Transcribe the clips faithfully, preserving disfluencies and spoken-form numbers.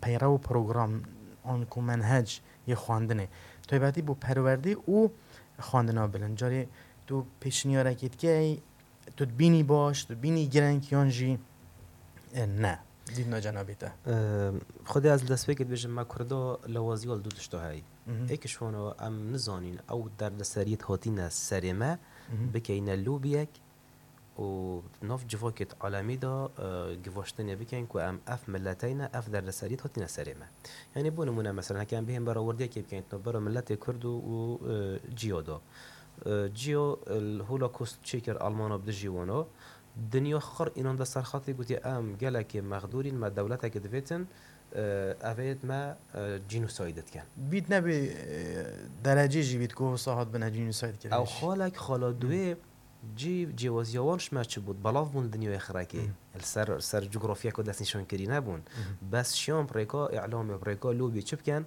peyrew program an ku menhec yê xwendinê, taybetî bo perwerdê û xwendina bilind. Carê tu pêşniyarekê dikey, tu dibînî baş, tu dibînî gireng yan jî, e, ne? Dîtina cenabê te. Em, Xwedê ez li destpêkê dibêjim, me Kurda lawaziya li du tişta heyî. Mhm. Êk ji wana em nizanîn ew derdeseriyêt hatîne serê me, Mhm. bikeyne lobiyek û nav civakêt alemî de, e, givaştinê bikin ku em ev mileteyne, ev derdeseriyêt hatine serê me. Yanî bo nimûne, mesela, heke em bihên berawerdiyekê bikin, navbera miletê Kurd û, û, e, Ciyo de. E, Ciyo, e, li Holocaust çêkir Almana bi dijî wana. Dinya xir înan de ser xetê gotiye, em gelekê mexdûrîn, me dewletekê divêtin, e, evêt me, e, genocide dikin. Bît nebî, e, derecê jî bît ku wisa hat bine genocide kirin. Ew xalek xala duê cî cêwaziya wan ji me çi bût? Belav bûn dinyayê xirekê. Hmm. Li ser, ser cografyeko destnîşan kirî nebûn. Hmm. Bes şiyan bi rêka îlamê, bi rêka lobî çi bikin?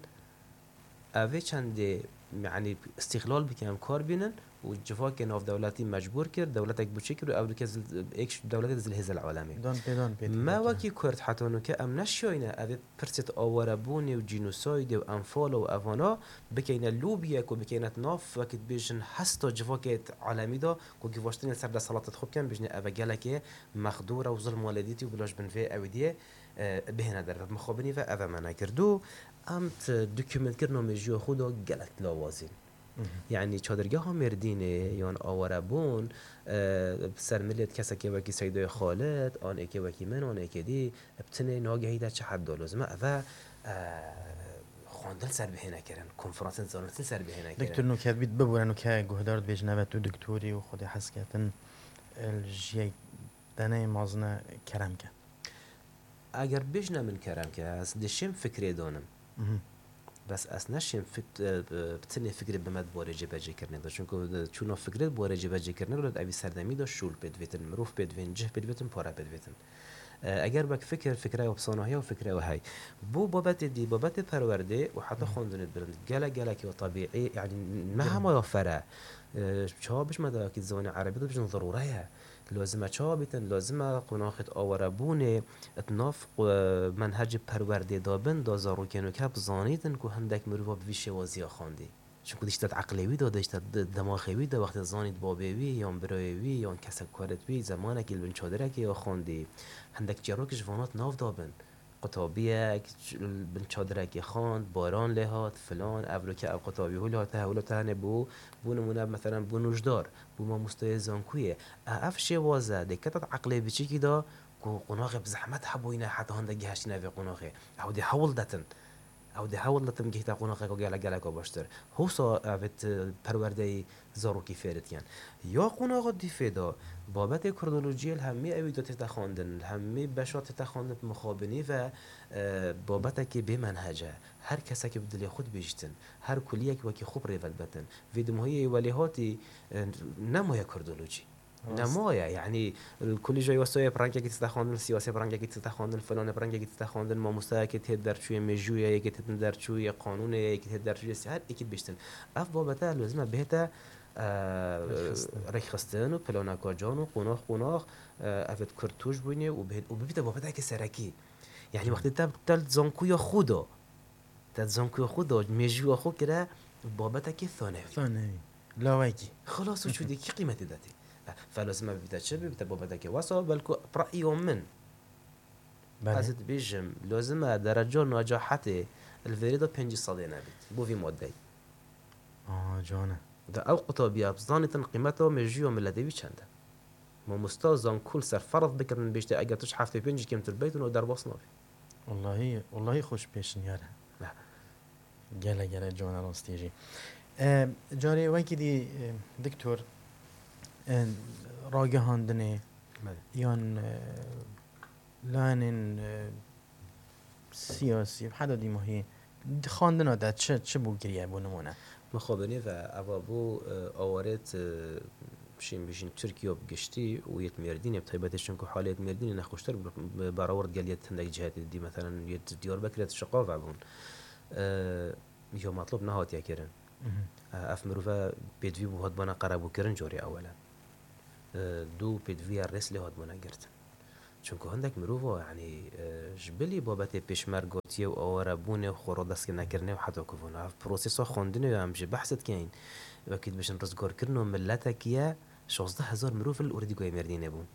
Evê çendê, yanî, îstîxlal bikin, em kar bînin û civakê navdewletî mecbûr kir, dewletek biçûk kir û ev dike zil-, êk ji dewletê zilhêze li alemê. Dan pê, dan pê. Me wekî Kurd heta nûke em neşiyayne evê pirsêt awarebûnê û cînosaydê û enfala û evana bikeyne lobiyek û bikeyne di nav wekî dibêjin hesta civakê alemî de ku givaştinê li ser desthilatê xwe bikin, bêjine ev e gelekê mexdûr e û zilma lê dîtî û bila ji bin vê ewîdiyê, e, bihêne derve. Mixabinî ve ev e me nekirdû. Em di dokumentkirina mejiyê xwe de gelek lawazîn. Mhm. Yanî çadırgeha Mêrdînê yan awarebûn, e, ser milê kesekê wekî Seydoyê Xalid, an êkê wekî min, an êkê dî, bi tinê nagehî de çi hed da lozim e? Eve, e, xwendin ser bihêne kirin, konferansên zanistî ser bihêne kirin. Doktor nûke bît bibûre nûke guhdar dibêjin eve tu doktorî û xwedê hez ketin, e, li jiyek deneyê mazine kerem ke. Eger bêjne min kerem ke, ez dişêm fikrê danim. Mhm. Bes ez neşêm fik-, e, e, bi tinê fikrê bime di barê cêbecêkirinê de. Çunku, e, çûna fikrê di barê cêbecêkirinê de, evî serdemî de şûl pê divêtin, mirov pê divên, cih pê divêtin, pare pê divêtin. E, eger wek fikir, fikre ew bi sanahiya û fikre ew hey. Bo babetê dî, babetê perwerdê û heta Mhm. xwendinê bilind. Gelek, gelek ew tebîî, yanî ne Gelek. hema ya fere. E, çawa bijme dawekî ziwanê erebî de bijin zerûre ye. Lozim e çawa bîtin? Lozim e qonaxêt awarebûnê di nav, e, menhecê perwerdê de bin, da zarokên weke bizanîtin ku hindek mirova bi vî şêwaziya xwendî. Çunku dişte di eqlê wî de, dişte di demaxê wî de, wextê zanît babê wî, yan birayê wî, yan kesek karêt wî, zemanekî li bin çadirekê ya xwendî. Hindek çîrokî ji vana di nav de bin. Qutabiyek, ç-, bin çadirekê xwend, baran lê hat, filan, ev roke ev qutabî hûl hate, hewlo te hene bû, bû nimûne, meselen, bû nûjdar, bû mamosteyê zankuyê. E, ev şêwaze dê kete di eqlê biçîkî de ku qonaxê bi zehmet hebûyîne heta hinde gihiştîne vê qonaxê. Ew dê hewl detin. Ew dê hewl detin gihîte qonaxeke gelek, geleka baştir. Hosa ev ê, e, perwerdeyî zarokî fêr dikin. Ya qonaxa dîfê de babetê kurdolojiyê li hemî ewî de tête xwendin, li hemî beşa tête xwendin bi mixabinî ve, e, babetekê bê menhec e. Her kesekê bi dilê xwe dibêjtin, her kuliyek wekî xwe bi rê ve dibetin. Vê dimahiyê welêhatî, e, nemaye kurdolojî. Rast. Nemaye, yanî, li kulîja yasayê bi rengekî tête xwendin, siyasê bi rengekî tête xwendin, filanê bi rengekî tête xwendin, mamosteyekê tête derçûyê, mêjûyê yekê tête derçûyê, qanûnê yekê tête derçûyê, her êkî dibêjtin. Ev babete lozim e bihête, e, Rêkxistin. rêkxistin û planeka can û qonax qonax, e, ev ê kurd tûj bûyne û bihê-, û bibîte babeteke serekî. Yanî Hı. wextê te, te li zankuya xwe de, te di zankuya xwe de mêjûya xwe kire babetekê thanewî. Thanewî. Lawekî. Xilas û çûdî kî qîmetê de tê? Fe lozim e bibîte çi? Bibîte babetekê wesa, belku bi re'ya min. Belê. Ez dibêjim, lozim e dereca nacahetê li vêrê de pêncî sedê nebît. Bo vî madeyê. Aa, can e. De ew qutabiya bizanîtin qîmeta mêjûya miletê wî çend e. Mamosta zanku li ser ferz bikirin bêjte, eger tu ji heftê pêncî kêmtir beytin, ew derbas nabî. Wallahî, wallahî xweş pêşniyar e. Ne. Gele, gele can e rastî jî. E, carê wekî dî, e, diktor, e, ragihandinê Belê. yan, e, layenên, e, siyasî, heta dîmahî, di xwendina de çi, çi bû kiriye, bo nimûne? Mixabinî ve eva bû, e, awarêt, e, şîn bijîn Tirkiye bi giştî û yêt Mêrdînê bi taybetê, çunku halê yêt Mêrdînê nexweştir bû, bi berawerd gel yêt hindek cihetê dî, meselen, yêt Diyarbekirê di şiqav hebûn. E, ya metlob nehatiye kirin. Mhm. E, ev mirove pêdivî bû hatbana qerebûkirin carê ewele. E, du pêdiviya rêz lê hatbana girtin. Çunku hindek mirov a, yanî, e, ji bilî babetê pêşmergotiye û awarebûnê û xwe radestkirinê û heta ku vana ev prosesa xwendinê ya em jî behs dikeyin. Wekî dibêjin rizgarkirina miletekî ye, şazdeh hezar mirov li Orîdîgoyê Mêrdînê bûn.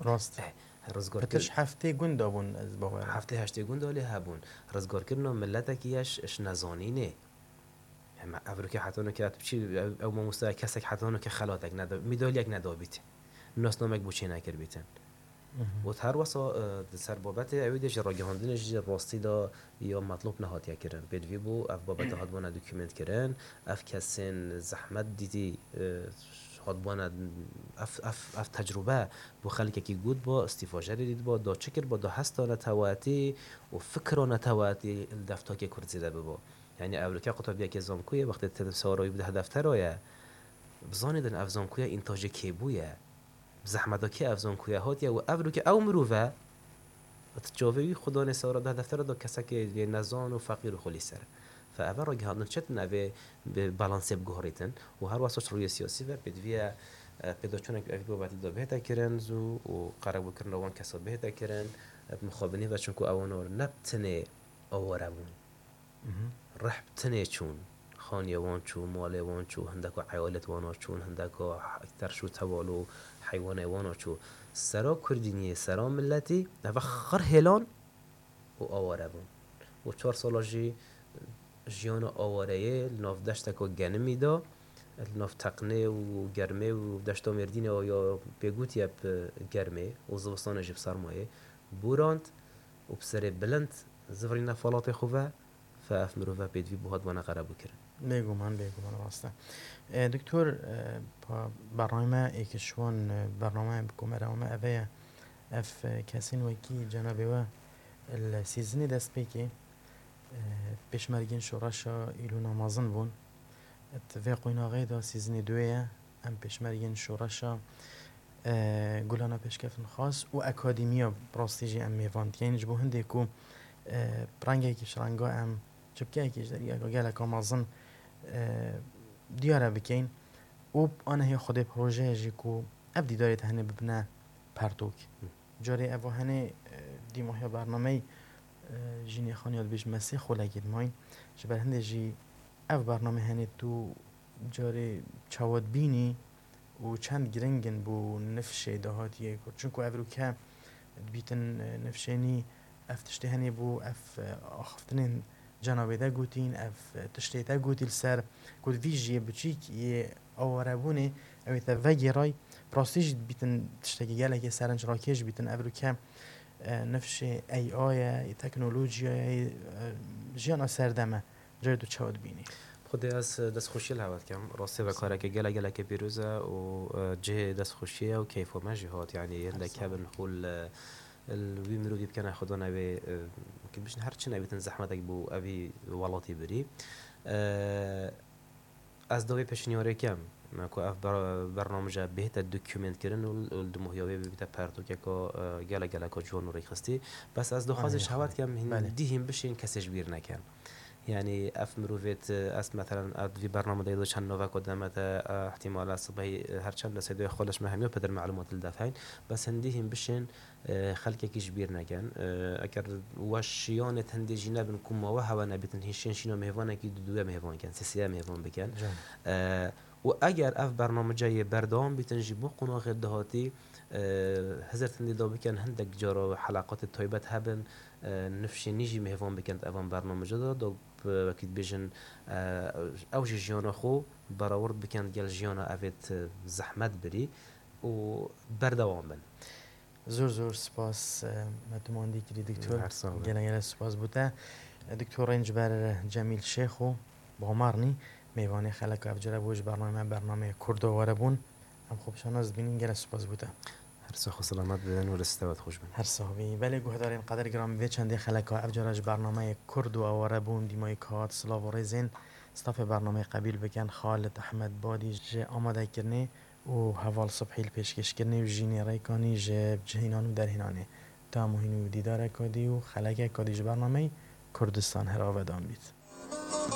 Rast. Eh, rizgarkir- Pitiş heftê gund a bûn, ez bawer im. Heftê heştê gund a lê hebûn. Rizgarkirina miletekî ye ji, ji nezanînê. Hema ev rûkê heta nûke tu biçî, ew, ew mamoste kesek heta nûke xelatek neda, medalyek nedabît. Nasnamek bo çênekir bîtin. Mhm. Û her wesa, e, di ser babetê ew dê jî ragihandinê jî rastî de ya metlûb nehatiye kirin. Pêdivî bû, ev babete hatbûna dokument kirin, ev kesên zehmet dîtî, e, hatbûna ev, ev, ev tecrûbe bo xelkekî gotba, îstîfajerê dîtba, da çi kirba, da hesta netewatî û fikra netewatî li deftakê Kurdî de bibo. Yanî ev rûke qutabiyeke zankoyê wextê te sawara wî bide deftera ye. Bizanî din ev zankoye întajê kê bûye. Bi zehmeta kê ev zankoye hatiye û ev rûke ew mirov e. Ti çavê wî xwe danê sawara bide deftera da kesekê yê nezan û feqîr û xulî ser. Fe eve ragihandin çetin evê bi balansê biguherîtin û her wesa ji rûyê siyasî ve pêdiviye, e, pêdaçûnek evî babetî da bihête kirin zû û qerebûkirina wan kesa bihête kirin, e, bi mixabinî ve çunku ewan ne bi tenê aware bûn. Mhm. Rih bi tenê çûn. Xaniyê wan çû, malê wan çû, hindeko eyalet wana çûn, hindeko terş û tewal û heywanê wana çû. Sera Kurdîniyê, sera miletî, eve xir hêlan û aware bûn. Û çar sala jî jiyana awareyê li nav deşteka genimî de, li nav teqnê û germê û deşta Mêrdînê ya pêgotî ye bi germê û zivistanê jî bi sermayê, borand û bi serê bilind zivirîne falatê xwe ve, fe ev mirove pêdivî bû hatibana qerebûkirin. Bêguman, bêguman rast e. E, Doktor, e, pa-, bername êkişwan, e, bername bi komera me eve ye. Ev, e, kesên wekî cenabê we li sîzinê destpêkê, e, pêşmergên şoreşa Îlûna mezin bûn. Di vê qoynaxê de sîzinê duê ye. Em pêşmergên şoreşa, e, Gulana Pêşkeftinxwaz û Akademiya bi rastî jî em mêvan dikeyin. Ji bo hindê ku, e, rengekî ji renga em çipkeyekî ji deriyeka geleka mezin, e, diyare bikeyin û anehê xwedê projeyê jî ku ev dîdarê te hene bibine pertûk. Hı. Carê ev hene, e, dîmahiya bernameyê, e, jînê xaniya dibêjin me sê xulekê dimayîn. Ji ber hindê jî ev bername hene tu carê çawa dibînî û çend giring in bo nifşê dahatiyê Kurd? Çunku ev rûke dibîtin, e, nifşênî ev tiştê henê bo ev, e, axiftinên cenabê te gotîn, ev, e, tiştê te gotî li ser ku di vî jiyê biçîk yê awarebûnê ew ê te vegêray, bi rastî jî dibîtin tiştekî gelekê serinc rakêş bîtin. Ev rûke, e, nifşê A I ye, yê teknolojiyayê, e, jiyana serdem e. Carê tu çawa dibînî? Xwedê ez destxweşiyê li hewe dikim. Rastî ve kareke gelek gelekê pîroz e û, e, cihê destxweşiyê ye û keyfa me jî hat. Yanî hindek hebin xwe li, li wî mirovî bikene xwedan ew ê, e, wekî dibêjin her çi nebîtin zehmetek bo evî welatî birî. E, Ez dawê pêşniyarê kem, me ku ev ber-, bernamece bihête dokumentkirin û, û li dimohiya wê bibîte pertûkeka, e, gelek geleka ciwan û rêkxistî. Bes ez daxwazê ji hewa dikem, hîn, belê, dî hîn bişên kesê ji bîr nekin. Yanî ev mirovêt, ez meselen, ev vî bername de çend naveko deme te, e, ihtimal e sibehî, e, her çend de seydoyê xwe leş me hemiya peder melumat li def heyn. Bes hindî hîn bişên e, xelkekî ji bîr nekin. E, eger we şiyanê tendê jî nebin ku ma we hewe nebîtin, hîn şên şîna mêvanekî du duye mêvan kin, sê sêye mêvan bikin. Can. E, û eger ev bernamece yê berdewam bîtin jî bo qonaxê dahatî, e, hizir tendê da bikin, hindek cara heleqatê taybet hebin, e, nifşê nî jî mêvan bikin di evan bernamece de, da, e, wekî dibêjin, e, ew jî jiyana xwe berawird bikin gel jiyana evêt, e, zehmet birî û berdewam bin. Zor zor spas, e, me tu mandî kirî, Doktor. Her sağ olun. Gele gele spas bo te. E, Doktor Rênc ber Cemîl Şêxo Bamarnî, mêvanê xeleka evcere bû ji bername, bernameyê Kurdo were bûn. Em xwe bi şanas dibînin, gele spas bo te. Her sax û selamet bibin û li stewet xweş bin. Her sax bî. Belê guhdarên qedirgiran, vê çendê xeleka evcere ji bernameyê Kurdo were bûn, dîmayî kat, silav û rêzên stafê bernameyê qebîl bikin, Xalid Ehmed Badî ji amadekirinê û Heval Subhî li pêşkêşkirinê û Jînê Rêkanî ji cihînan û derhênanê. Tam û hîn û dîdareka dî û xelekeka dî ji bernameyê Kurdistan her avedan bît.